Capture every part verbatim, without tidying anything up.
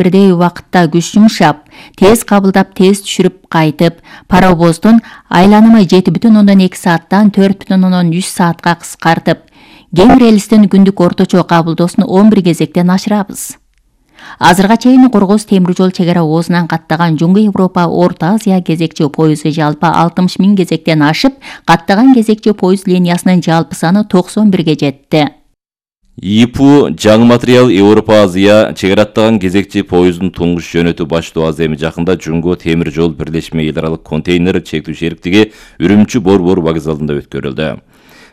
бирдей убакытта күч жумшап, тез кабылдап, тез түшүрүп кайтып, паровоздун айланымы жети бүтүн ондон эки сааттан төрт бүтүн ондон үч саатка кыскартып, кең релстин күндүк орточо кабылдоосун он бир кезектен ашырабыз. Азырга чейин Кыргыз темир жол чегара оозунан каттаган Жуңгу Европа, Орто Азия кезекчи поезду жалпы алтымыш миң кезектен ашып, каттаган кезекчи поезд линиясынын жалпы саны токсон бирге жетти. ИПУ жаңы материал Европа Азия чегара аттаган кезекчи поездун туңгуш жөнөтүү баштоо аз эми жакында Жуңгу темир жол бирлешме эл аралык контейнер чектүү шериктиги Үрүмчү Борбор вокзалында өткөрүлдү.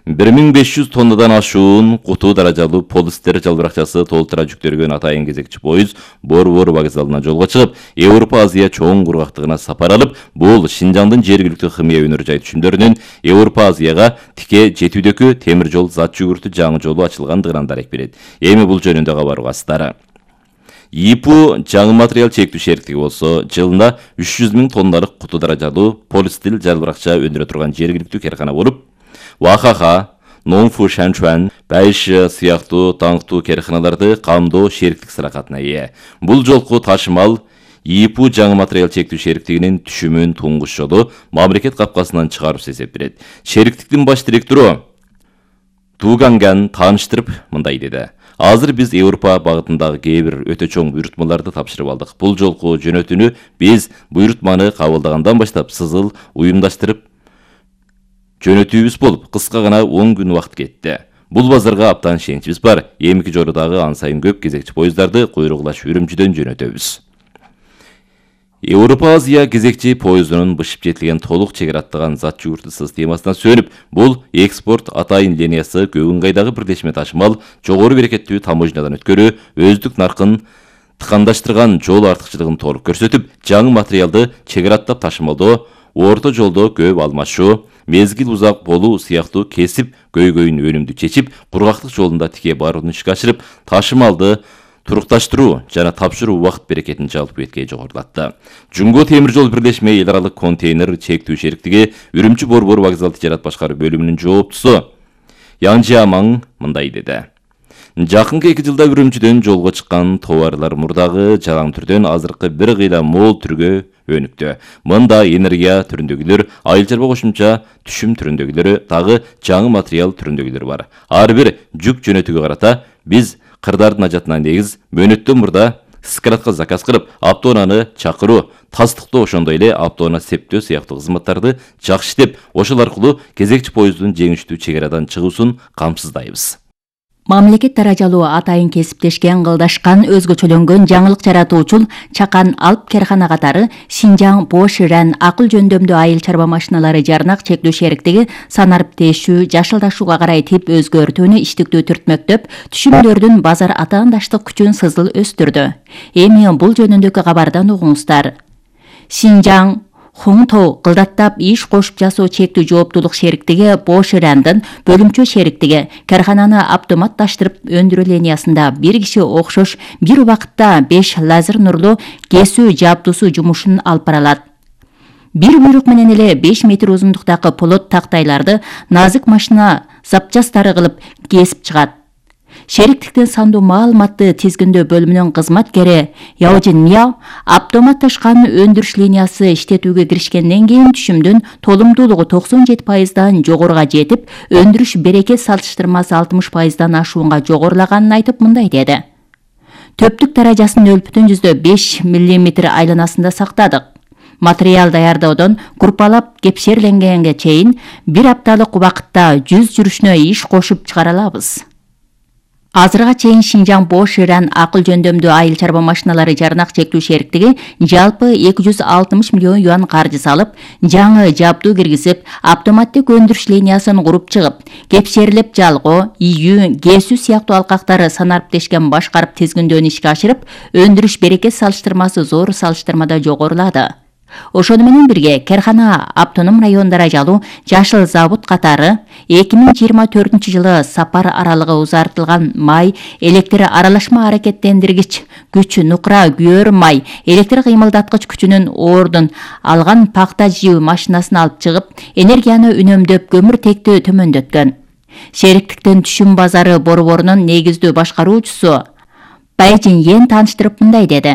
бир миң беш жүз тоннадан ашуун куту даражалуу полистер жалбыракчасы толтура жүктөлгөн атайын кезекчи поезд Борбор вокзалына жолго чыгып, Европа Азия чоң кургактыгына сапар алып, бул Шинжаңдын жергиликтүү химия өнөр жай түшүмдөрүнүн Европа Азияга тике жетүүдөгү темир жол зат жүгүртүү жаңы жолу ачылгандыгынан дарек берет. Эми бул жөнүндө кабар угасыздар. ИПУ жаңы материал чектүү шериктиги болсо, жылына үч жүз миң тонналык куту даражалуу полистил жалбыракча өндүрө турган жергиликтүү каркана болуп, Вахаха, Нонфу Шанчуан, Байши сыяктуу таңктуу карканаларды камдоо шериктик сыракатына ээ. Бул жолку ташымал ИПУ жаңы материал чектүү шериктигинин түшүмүн туңгуш жолу мамлекет капкасынан чыгарып эсептелет. Шериктиктин баш директору Туганган тааныштырып мындай деди: Азыр биз Европа багытындагы кээ бир өтө чоң буйрутмаларды тапшырып алдык. Бул жолку жөнөтүүнү биз буйрутманы кабылдагандан баштап сызыл уюмдаштырып жөнөтүүбүз болуп, кыска гана он күн убакыт кетти. Бул базарга аптан ишеничибиз бар. Эмки жорудагы ан сайын көп кезекчи поездарды куйругулаш Үрүмчүдөн жөнөтөбүз. Европа Азия кезекчи поездунун бышып жетилген толук чегара аттаган зат жүгүртүү системасына сөнүп, бул экспорт атайын линиясы Көкүнгайдагы бирлешме ташымал жогору берекеттүү таможнядан өткөрүү, өздүк наркын тыкандаштырган жол артыкчылыгын толук көрсөтүп, жаңы материалды чегара аттап ташымалдоо, орто жолдо көп алмашуу, мезгил узак болуу сыяктуу кесип көйгөйүн өнүмдүү чечип, кургактык жолунда тике барууну ишке ашырып, ташымалды турукташтыруу жана тапшыруу убакыт берекетин жалпы бетке жогорулатты. Жуңгу темир жол бирлешме эл аралык контейнер чектүү шериктиги Үрүмчү Борбор вокзал тижарат башкаруу бөлүмүнүн жооптусу Янжиамаң мындай деди: Жакынкы эки жылда Үрүмчүдөн жолго чыккан товарлар мурдагы жалаң түрдөн азыркы бир кыйла мол түргө өнүктү. Мында энергия түрүндөгүлөр, айыл чарба кошумча түшүм түрүндөгүлөрү, дагы жаңы материал түрүндөгүлөр бар. Ар бир жүк жөнөтүүгө карата биз кырдардын ажатына негиз мөөнөттөн мурда складка заказ кылып, автоунааны чакыруу, тастыктоо, ошондой эле автоунаа септөө сыяктуу кызматтарды жакшы иштеп, ошол аркылуу кезекчи поезддун жеңиштүү чегарадан чыгуусун камсыздайбыз. Мамлекет даражалуу атайын кесиптешкен, кылдашкан, өзгөчөлөнгөн жаңылык жаратуучул чакан алып каркана катары Шинжаң Боширан акыл жөндөмдүү айыл чарба машиналары жарнак чектүү шериктиги санариптешүү, жашылдашууга карай тип өзгөртүүнү иштиктүү түртмөктөп, түшүмдөрдүн базар атаандаштык күчүн сызыл өстүрдү. Эми бул жөнүндөгү кабардан угуңуздар. Шинжаң Хуңтоу кылдаттап иш кошуп жасоо чектүү жооптуулук шериктиги Боширандын бөлүмчө шериктиги каркананы автоматташтырып өндүрүү линиясында бир киши окшош бир убакытта беш лазер нурлуу кесүү жабдуусу жумушун алып баралат. Бир буйрук менен эле беш метр узундуктагы полот тактайларды назык машина запчастары кылып кесип чыгат. Шериктиктин сандуу маалыматты тизгиндөө бөлүмүнүн кызматкери Яожин Мияо автоматташкан өндүрүш линиясы иштетүүгө киришкенден кийин түшүмдүн толумдуулугу токсон жети пайыздан жогоруга жетип, өндүрүш берекет салыштырмасы алтымыш пайыздан ашуунга жогорулаганын айтып мындай деди: Төптүк даражасын нөл бүтүн жүздөн беш миллиметр айланасында сактадык. Материал даярдоодон группалап кепшерленгенге чейин бир апталык убакытта жүз жүрүшүнө иш кошуп чыгара алабыз. Азырга чейин Шинжаң Боширан акыл жөндөмдүү айыл чарба машиналары жарнак чектүү шериктиги жалпы эки жүз алтымыш миллион юан каржы салып, жаңы жабдуу киргизип, автоматтык өндүрүш линиясын куруп чыгып, кепшерилеп жалгоо, ийүү, кесүү сыяктуу алкактары санариптешкен башкарып тизгиндөөнү ишке ашырып, өндүрүш берекет салыштырмасы зор салыштырмада жогорулады. Ошону менен бирге каркана автоном район даражалуу жашыл завод катары эки миң жыйырма төртүнчү жылы сапар аралыгы узартылган май, электр аралашма аракеттендиргич күч, нукра күйөр май, электр кыймылдаткыч күчүнүн ордун алган пакта жыйуу машинасын алып чыгып, энергияны үнөмдөп, көмүртекти төмөндөткөн. Шериктиктин түшүм базары борборунун негиздүү башкаруучусу Байжин Йен тааныштырып мындай деди: